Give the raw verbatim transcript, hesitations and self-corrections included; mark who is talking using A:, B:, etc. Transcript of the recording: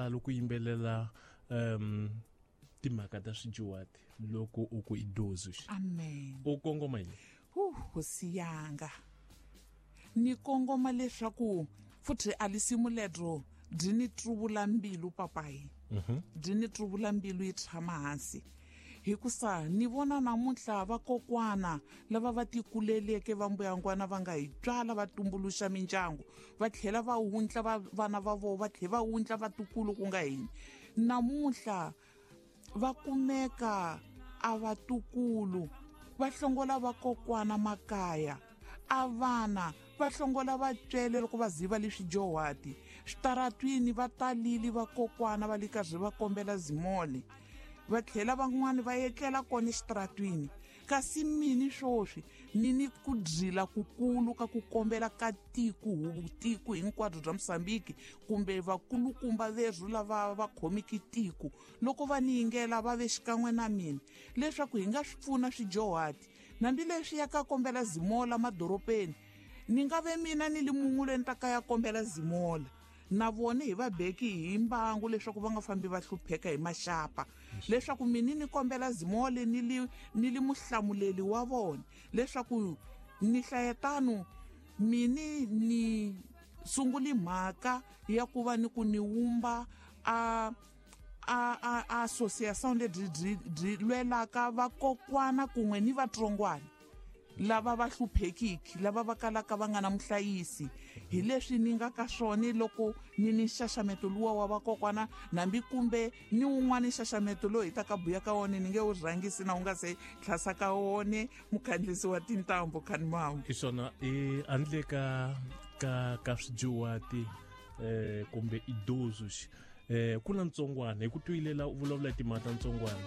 A: Loko yimbelela um timhaka ta swijuwati loko u ku idozi,
B: amen,
A: u kongoma yini?
B: Hu hosi yanga, ni kongoma leswaku futhi a lisimu ledro byi ni truvula mbilu papayi, byi ni truvula mbilu yi tshama hansi, hikusa ni vona namuntlha vakokwana lava va tikuleleke va mbuyangwana va nga hi tswala va tumbuluxa mindyangu, va tlhela va wundla va vana va vona, va tlhela va wundla vatukulu ku nga hini, namuntlha va kumeka a vatukulu va hlongola vakokwana makaya, a vana va hlongola vatswele loko va ziva leswi johati switaratwini va talili vakokwana va le karhi va kombela zimole, va tlhela van'wani va etlela kona exitaratwini. Kasi mini swoswi ni ni ku dzila kukulu ka ku kombela ka tiko, tiko hinkwabyo bya Mozambique kumbe vakulukumba verhu lava va khomiki tiko, loko va ni yingela va ve xikan'we na mina leswaku hi nga swi pfuna swijohati. Hambileswi ya ka kombela zimola madorobeni, ni nga ve mina ni li mun'we loyi ni ta ka ya kombela zimola na vona hi va beki hi mbangu leswaku va nga fambi va hlupheka hi maxapa, leswaku mina ni kombela zimole ni li ni li muhlamuleli wa vona, leswaku ni hlayetano mini ni sunguli mhaka ya ku va ni ku ni wumba a a a association lebyi byi byi lwelaka vakokwana kun'we ni vatsongwana lava va hluphekiki, lava va kalaka va nga na muhlayisi. Hi leswi ni nga ka swona loko ni ni nxaxameto luwa wa vakokwana, nambi kumbe ni wun'wana nxaxameto lowu hi ta ka buya ka wona, ni nge wu rhangisi na wu nga se tlhasa ka wone mukhandlisi wa tintambu khanimamu.
A: Hi swona i handle ka ka ka swijuwati eh kumbe idozi eh ku na ntsongwana hi ku twilela u vulavula timhaka ta ntsongwana.